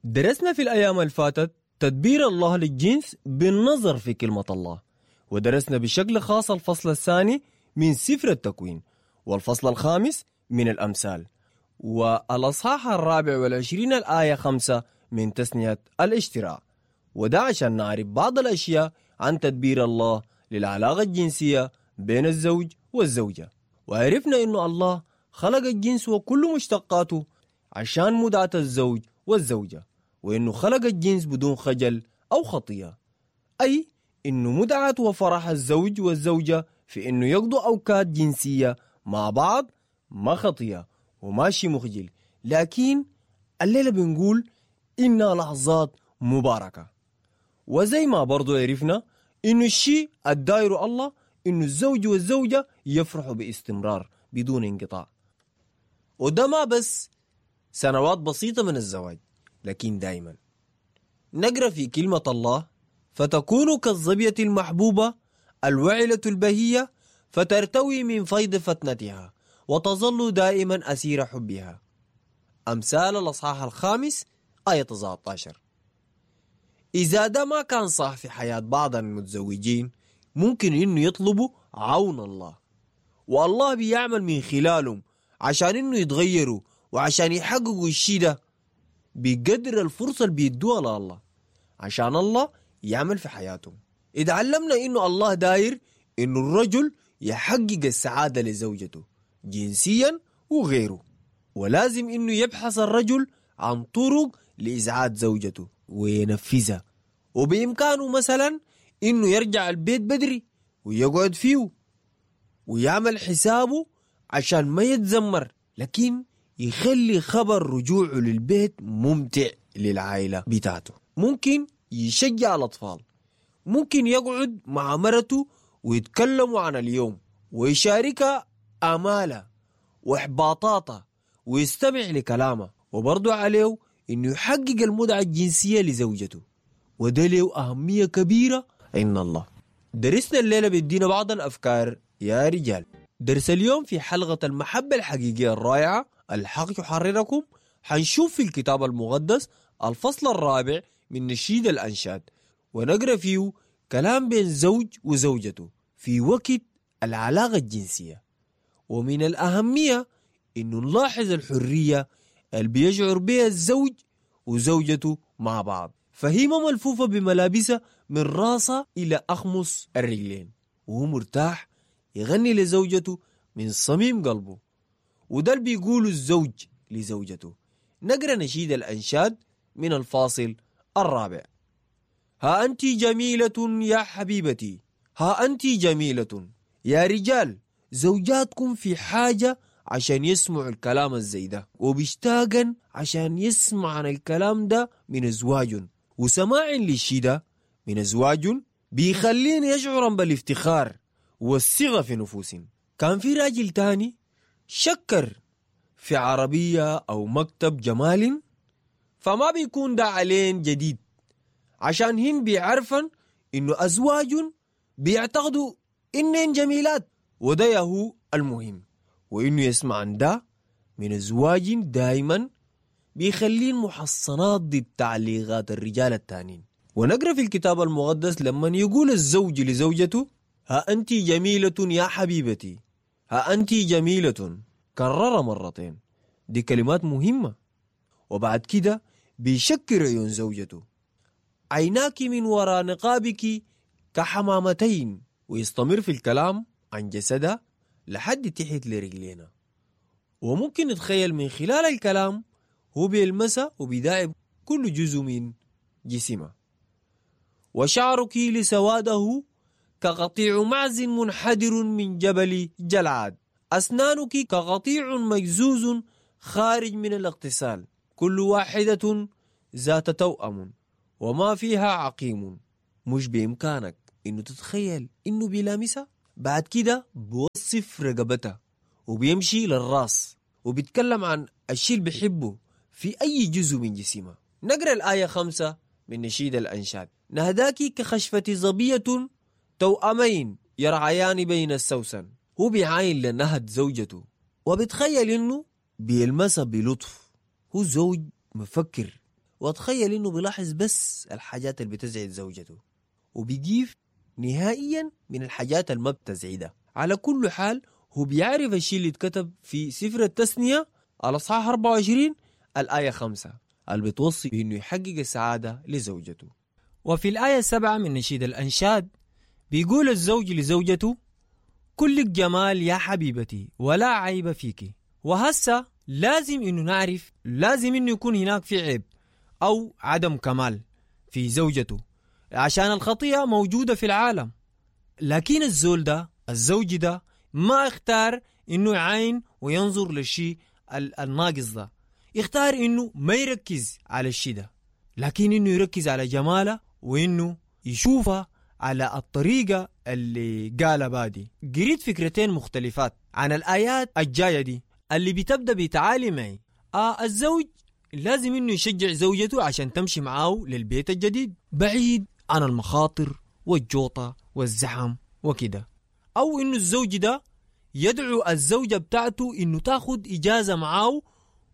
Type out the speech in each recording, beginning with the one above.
درسنا في الأيام الفاتت تدبير الله للجنس بالنظر في كلمة الله، ودرسنا بشكل خاص الفصل الثاني من سفر التكوين، والفصل الخامس من الأمثال، والأصحاح 24 الآية 5 من تثنية الاشتراع. وده عشان نعرف بعض الأشياء عن تدبير الله للعلاقة الجنسية بين الزوج والزوجة. وعرفنا إنه الله خلق الجنس وكل مشتقاته عشان متعة الزوج والزوجة، وإنه خلق الجنس بدون خجل أو خطية، أي إنه متعة وفرح الزوج والزوجة في إنه يقضوا أوقات جنسية مع بعض ما خطية وماشي مخجل، لكن الليلة بنقول إنها لحظات مباركة. وزي ما برضو عرفنا إنه الشيء الداير الله إنه الزوج والزوجة يفرحوا باستمرار بدون انقطاع، وده ما بس سنوات بسيطة من الزواج، لكن دايما. نقرأ في كلمة الله: فتكون كالظبية المحبوبة الوعلة البهية، فترتوي من فيض فتنتها وتظل دائما أسير حبها. أمثال الأصحاح 5 آية 19. إذا ده ما كان صح في حياة بعض المتزوجين، ممكن إنه يطلبوا عون الله، والله بيعمل من خلالهم عشان إنه يتغيروا وعشان يحققوا الشي ده بقدر الفرصة اللي بيدوها لله عشان الله يعمل في حياتهم. إذا علمنا إنه الله داير إنه الرجل يحقق السعادة لزوجته جنسيا وغيره، ولازم إنه يبحث الرجل عن طرق لإسعاد زوجته وينفذها، وبإمكانه مثلا إنه يرجع البيت بدري ويقعد فيه ويعمل حسابه عشان ما يتذمر، لكن يخلي خبر رجوعه للبيت ممتع للعائلة بتاعته. ممكن يشجع الأطفال، ممكن يقعد مع مرته ويتكلموا عن اليوم ويشاركها آماله وإحباطاته ويستمع لكلامه، وبرضه عليه إنه يحقق المتعة الجنسية لزوجته، وده له أهمية كبيرة عند الله. درسنا الليلة بيدينا بعض الأفكار يا رجال. درس اليوم في حلقة المحبة الحقيقية الرائعة الحق يحرركم، حنشوف في الكتاب المقدس الفصل 4 من نشيد الأنشاد، ونقرأ فيه كلام بين زوج وزوجته في وقت العلاقة الجنسية. ومن الأهمية إنه نلاحظ الحرية اللي بيشعر بها الزوج وزوجته مع بعض، فهي ملفوفة بملابسها من راسها إلى أخمص الرجلين، وهو مرتاح يغني لزوجته من صميم قلبه، وده اللي بيقوله الزوج لزوجته. نقرأ نشيد الأنشاد من الفاصل 4. ها أنت جميلة يا حبيبتي، ها أنت جميلة. يا رجال، زوجاتكم في حاجة عشان يسمعوا الكلام الزي ده، وبيشتاقن عشان يسمع عن الكلام ده من أزواجهم، وسماع للشي ده من أزواجهم بيخلين يشعرن بالافتخار والثقة في نفوسهم. كان في راجل تاني شكر في عربية أو مكتب جمال، فما بيكون ده علين جديد، عشان هن بيعرفن إنه أزواجهم بيعتقدوا إنهن جميلات، وده يهو المهم. وإنه يسمع عن ده من أزواج دايما بيخلين محصنات ضد تعليقات الرجال التانين. ونقرأ في الكتاب المقدس لما يقول الزوج لزوجته: ها أنت جميلة يا حبيبتي، ها أنت جميلة، كرر مرتين. دي كلمات مهمة. وبعد كده بيشكر عيون زوجته: عيناك من وراء نقابك كحمامتين، ويستمر في الكلام عن جسدها لحد تحت لرجلينا. وممكن نتخيل من خلال الكلام هو بيلمسها وبيداعب كل جزء من جسمها. وشعرك لسواده كقطيع معز منحدر من جبل جلعاد، أسنانك كقطيع مجزوز خارج من الاغتسال، كل واحدة ذات توأم وما فيها عقيم. مش بإمكانك إنه تتخيل إنه بيلامسها. بعد كده بوصف رقبتها وبيمشي للراس وبيتكلم عن الشيء اللي بيحبه في أي جزء من جسمها. نقرأ الآية 5 من نشيد الأنشاد: نهداك كخشفة ظبية توأمين يرعيان بين السوسن. هو بيعاين لنهد زوجته وبتخيل إنه بيلمسها بلطف. هو زوج مفكر واتخيل انه بيلاحظ بس الحاجات اللي بتزعج زوجته، وبيقيف نهائيا من الحاجات اللي ما بتزعجها. على كل حال هو بيعرف الشيء اللي اتكتب في سفر التثنية الأصحاح 24 الآية 5 اللي بتوصي بأنه يحقق السعادة لزوجته. وفي الآية 7 من نشيد الأنشاد بيقول الزوج لزوجته: كلك جمال يا حبيبتي ولا عيب فيك. وهسه لازم إنه نعرف، لازم إنه يكون هناك في عيب أو عدم كمال في زوجته، عشان الخطيئة موجودة في العالم. لكن الزول ده، الزوج ده، ما اختار إنه يعاين وينظر للشيء الناقص ده، اختار إنه ما يركز على الشيء ده، لكن إنه يركز على جماله وإنه يشوفها على الطريقة اللي قالها بادي. قريت فكرتين مختلفات عن الآيات الجاية دي اللي بتبدأ بتعالي معي. الزوج لازم إنه يشجع زوجته عشان تمشي معاه للبيت الجديد بعيد عن المخاطر والجوطة والزحم وكده، أو إنه الزوج ده يدعو الزوجة بتاعته إنه تاخد إجازة معاه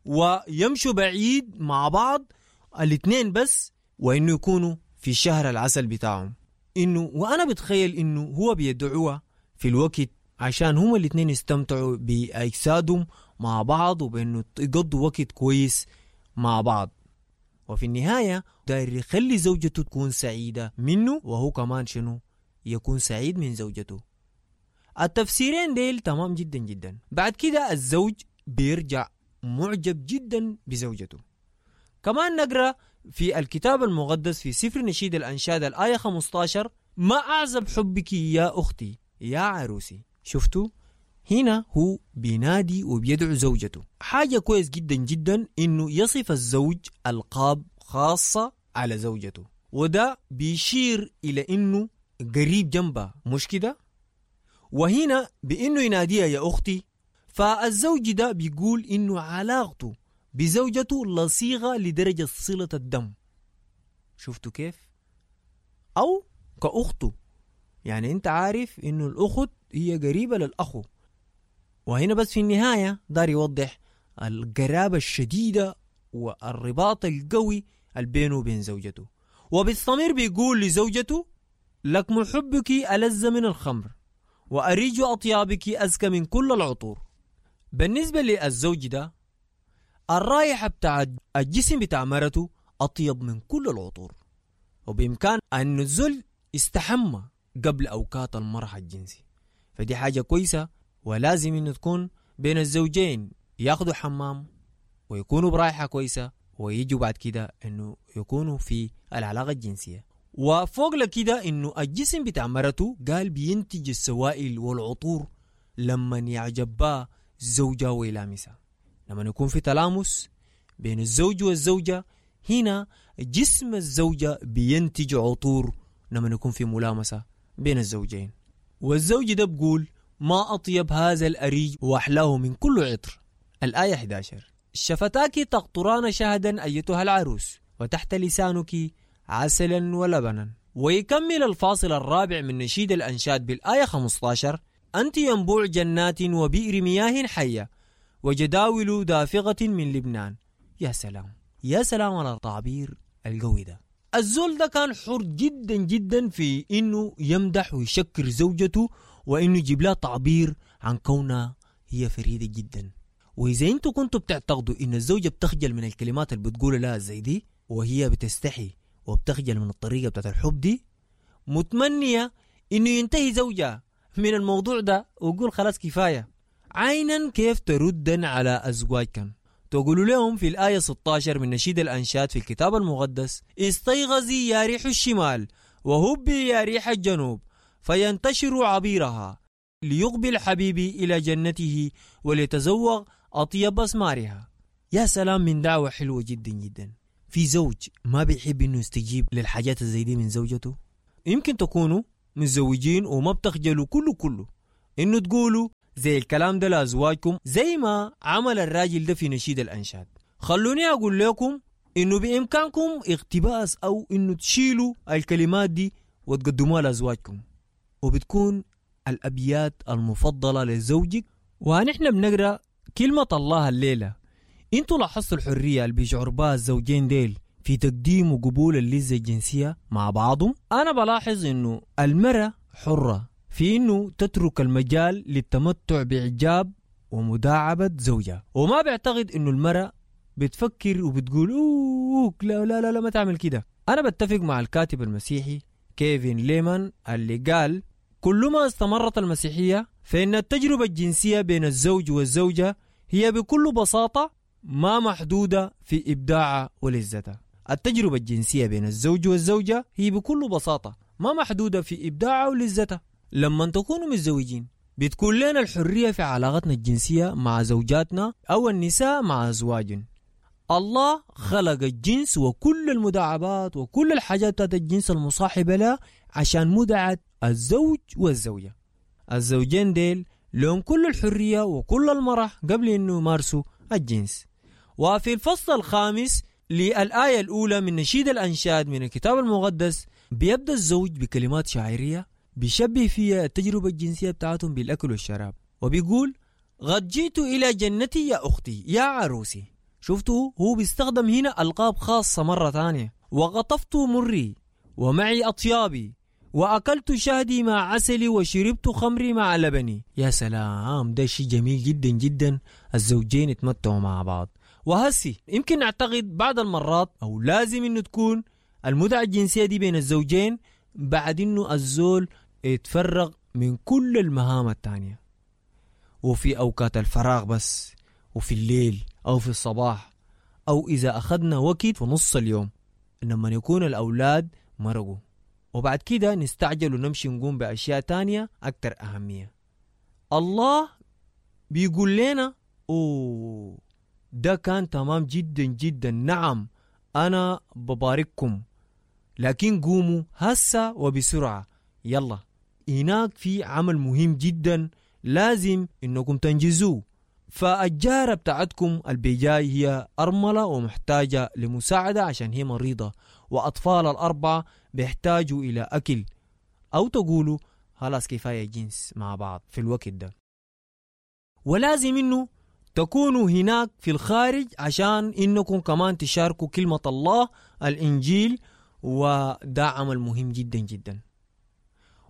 ويمشوا بعيد مع بعض الاثنين بس، وإنه يكونوا في شهر العسل بتاعهم. إنه وأنا بتخيل إنه هو بيدعوها في الوقت عشان هما الاثنين يستمتعوا بأجسادهم مع بعض، وبإنه يقضوا وقت كويس مع بعض. وفي النهاية داير يخلي زوجته تكون سعيدة منه، وهو كمان شنو يكون سعيد من زوجته. التفسيرين ديل تمام جدا جدا. بعد كده الزوج بيرجع معجب جدا بزوجته. كمان نقرأ في الكتاب المقدس في سفر نشيد الأنشاد الآية 15: ما أعزب حبك يا أختي يا عروسي. شفتوا هنا هو بينادي وبيدعو زوجته. حاجة كويس جدا جدا إنه يصف الزوج ألقاب خاصة على زوجته، وده بيشير إلى إنه قريب جنبها، مش كده؟ وهنا بإنه يناديها يا أختي، فالزوج ده بيقول إنه علاقته بزوجته لصيغة لدرجة صلة الدم. شفتوا كيف؟ أو كأخته، يعني أنت عارف إنه الأخت هي قريبة للأخو. وهنا بس في النهاية دار يوضح القرابة الشديدة والرباط القوي بينه وبين زوجته. وبالصمير بيقول لزوجته: لكم حبك ألذ من الخمر، وأريج أطيابك أزكى من كل العطور. بالنسبة للزوج ده، الرائحة بتاع الجسم بتاع مرته أطيب من كل العطور، وبإمكان أن الزول يستحمى قبل أوقات المرح الجنسي، فدي حاجة كويسة، ولازم إنه تكون بين الزوجين ياخدوا حمام ويكونوا برائحة كويسة، ويجوا بعد كده إنه يكونوا في العلاقة الجنسية. وفوق لكده إنه الجسم بتاع مرته قال بينتج السوائل والعطور لما يعجبها زوجها ويلامسها. لما يكون في تلامس بين الزوج والزوجة، هنا جسم الزوجة بينتج عطور لما يكون في ملامسة بين الزوجين. والزوج ده بقول: ما أطيب هذا الأريج وأحلاه من كل عطر. الآية 11: شفتاك تقطران شهدا أيتها العروس، وتحت لسانك عسلا ولبنا. ويكمل الفاصل الرابع من نشيد الأنشاد بالآية 15: أنت ينبوع جنات وبئر مياه حية وجداول دافغة من لبنان. يا سلام، يا سلام على التعبير القوي ده. الزول ده كان حر جدا جدا في إنه يمدح ويشكر زوجته، وإنه يجيب لها تعبير عن كونها هي فريدة جدا. وإذا أنتوا كنتوا بتعتقدوا إن الزوجة بتخجل من الكلمات اللي بتقولها لها زي دي، وهي بتستحي وبتخجل من الطريقة بتاعت الحب دي، متمنية إنه ينتهي زوجها من الموضوع ده ويقول خلاص كفاية. عينا كيف تردا على أزواجكم؟ تقولوا لهم في الآية 16 من نشيد الأنشاد في الكتاب المقدس: استيغزي يا ريح الشمال وهبي يا ريح الجنوب فينتشر عبيرها، ليقبل حبيبي إلى جنته وليتزوغ أطيب أسمارها. يا سلام من دعوة حلوة جدا جدا. في زوج ما بيحب إنه يستجيب للحاجات زي دي من زوجته؟ يمكن تكونوا متزوجين وما بتخجلوا كله كله إنه تقولوا زي الكلام ده لأزواجكم، زي ما عمل الراجل ده في نشيد الأنشاد. خلوني أقول لكم إنه بإمكانكم اقتباس أو إنه تشيلوا الكلمات دي وتقدموها لأزواجكم، وبتكون الأبيات المفضلة لزوجك. ونحن بنقرأ كلمة الله الليلة. انتوا لاحظتوا الحرية اللي بيشعر بها الزوجين ديل في تقديم وقبول اللذة الجنسية مع بعضهم؟ أنا بلاحظ إنه المرأة حرة في إنه تترك المجال للتمتع بإعجاب ومداعبة زوجها، وما بعتقد إنه المرأة بتفكر وبتقول أوه لا لا لا, لا ما تعمل كده. أنا بتفق مع الكاتب المسيحي كيفن ليمان اللي قال كلما استمرت المسيحية فإن التجربة الجنسية بين الزوج والزوجة هي بكل بساطة ما محدودة في إبداعها ولذتها. التجربة الجنسية بين الزوج والزوجة هي بكل بساطة ما محدودة في إبداعها ولذتها. لما تكونوا متزوجين بتكون لنا الحرية في علاقتنا الجنسية مع زوجاتنا أو النساء مع أزواجهم. الله خلق الجنس وكل المداعبات وكل الحاجات بتاعت الجنس المصاحبة لها عشان مدعة الزوج والزوجة. الزوجين ديل لهم كل الحرية وكل المرح قبل أنه يمارسوا الجنس. وفي الفصل الخامس للآية الأولى من نشيد الأنشاد من الكتاب المقدس بيبدأ الزوج بكلمات شاعرية بيشبه فيها التجربة الجنسية بتاعتهم بالأكل والشراب، وبيقول قد جئت إلى جنتي يا أختي يا عروسي. شفتوا هو بيستخدم هنا ألقاب خاصة مرة ثانية. وغطفت مري ومعي أطيابي وأكلت شهدي مع عسلي وشربت خمري مع لبني. يا سلام، ده شيء جميل جدا جدا، الزوجين يتمتعوا مع بعض. وهسي يمكن نعتقد بعض المرات أو لازم إنه تكون المتعة الجنسية دي بين الزوجين بعد إنه الزول يتفرغ من كل المهام التانية، وفي أوقات الفراغ بس، وفي الليل أو في الصباح، أو إذا أخذنا وقت في نص اليوم لما يكون الأولاد مرقوا، وبعد كده نستعجل ونمشي نقوم بأشياء تانية أكثر أهمية. الله بيقول لنا أوه ده كان تمام جدا جدا، نعم أنا ببارككم، لكن قوموا هسا وبسرعة، يلا هناك في عمل مهم جدا لازم إنكم تنجزوه. فالجارة بتاعتكم البيجاي هي أرملة ومحتاجة لمساعدة عشان هي مريضة، وأطفال الأربعة بيحتاجوا إلى أكل، أو تقولوا خلاص كفاية جنس مع بعض في الوقت ده. ولازم إنه تكونوا هناك في الخارج عشان إنكم كمان تشاركوا كلمة الله الإنجيل، وده عمل مهم جدا جدا.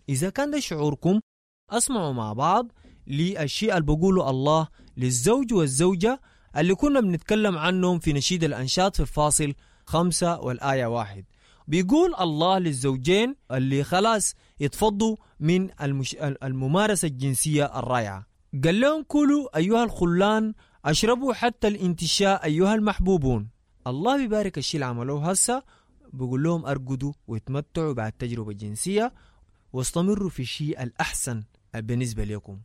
إذا كان ده شعوركم أسمعوا مع بعض للشيء اللي بقوله الله للزوج والزوجة اللي كنا بنتكلم عنهم في نشيد الأنشاد في الفاصل 5 والآية 1. بيقول الله للزوجين اللي خلاص يتفضوا من الممارسة الجنسية الرائعة، قال لهم كلوا أيها الخلان، أشربوا حتى الانتشاء أيها المحبوبون. الله بيبارك الشيء اللي عملوه هسه، بيقول لهم أرقدوا ويتمتعوا بعد التجربة الجنسية واستمروا في الشيء الأحسن بالنسبة لكم.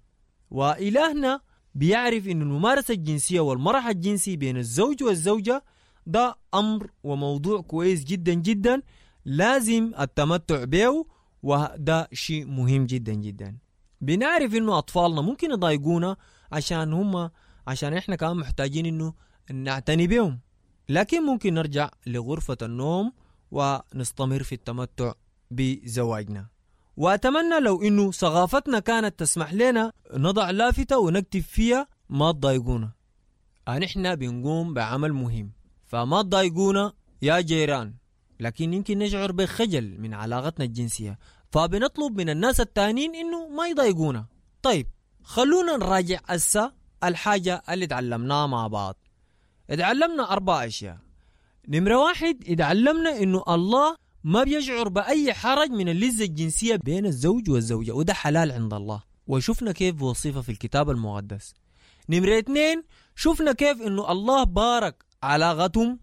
وإلهنا بيعرف إن الممارسة الجنسية والمرح الجنسي بين الزوج والزوجة ده أمر وموضوع كويس جدا جدا، لازم التمتع به، وده شيء مهم جدا جدا. بنعرف إنه أطفالنا ممكن يضايقونا عشان إحنا كمان محتاجين إنه نعتني بهم، لكن ممكن نرجع لغرفة النوم ونستمر في التمتع بزواجنا. وأتمنى لو إنه ثقافتنا كانت تسمح لنا نضع لافتة ونكتب فيها ما تضايقونا، نحن بنقوم بعمل مهم فما تضايقونا يا جيران. لكن يمكن نشعر بخجل من علاقتنا الجنسية فبنطلب من الناس التانيين إنه ما يضايقونا. طيب خلونا نراجع هسه الحاجة اللي تعلمناها مع بعض. اتعلمنا 4 أشياء. نمرة 1، اتعلمنا إنه الله ما بيشعر بأي حرج من اللذة الجنسية بين الزوج والزوجة، وده حلال عند الله، وشفنا كيف وصفه في الكتاب المقدس. نمرة 2، شفنا كيف إنه الله بارك علاقتهم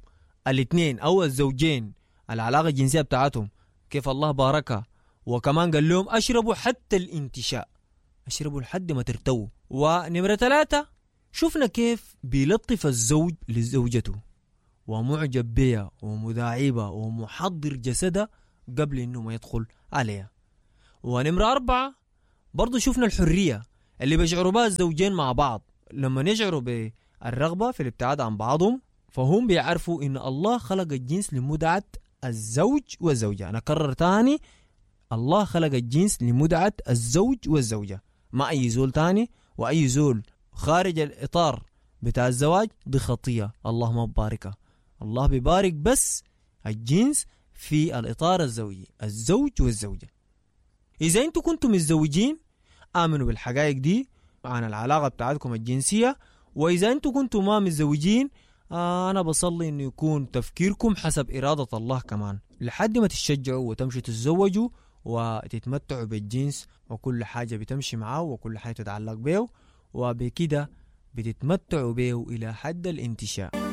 الاثنين أو الزوجين، العلاقة الجنسية بتاعتهم كيف الله باركها، وكمان قال لهم أشربوا حتى الانتشاء، أشربوا لحد ما ترتووا. ونمرة 3، شفنا كيف بيلطف الزوج لزوجته ومعجب بها ومداعبة ومحضر جسدها قبل إنه ما يدخل عليها. ونمرة 4، برضو شفنا الحرية اللي بيشعروا بها الزوجين مع بعض لما يشعروا بالرغبة في الابتعاد عن بعضهم، فهم بيعرفوا إن الله خلق الجنس لمدعة الزوج والزوجة. أنا أكرر تاني، الله خلق الجنس لمدعة الزوج والزوجة، ما أي زول تاني، وأي زول خارج الإطار بتاع الزواج دي خطية، الله ما بباركها. الله بيبارك بس الجنس في الإطار الزوجي، الزوج والزوجة. إذا أنتوا كنتم متزوجين آمنوا بالحقائق دي عن العلاقة بتاعتكم الجنسية، وإذا أنتوا كنتم ما متزوجين أنا بصلي إنه يكون تفكيركم حسب إرادة الله كمان، لحد ما تتشجعوا وتمشوا تتزوجوا وتتمتعوا بالجنس وكل حاجة بتمشي معاه وكل حاجة تتعلق به، وبكده بتتمتعوا به إلى حد الانتشاء.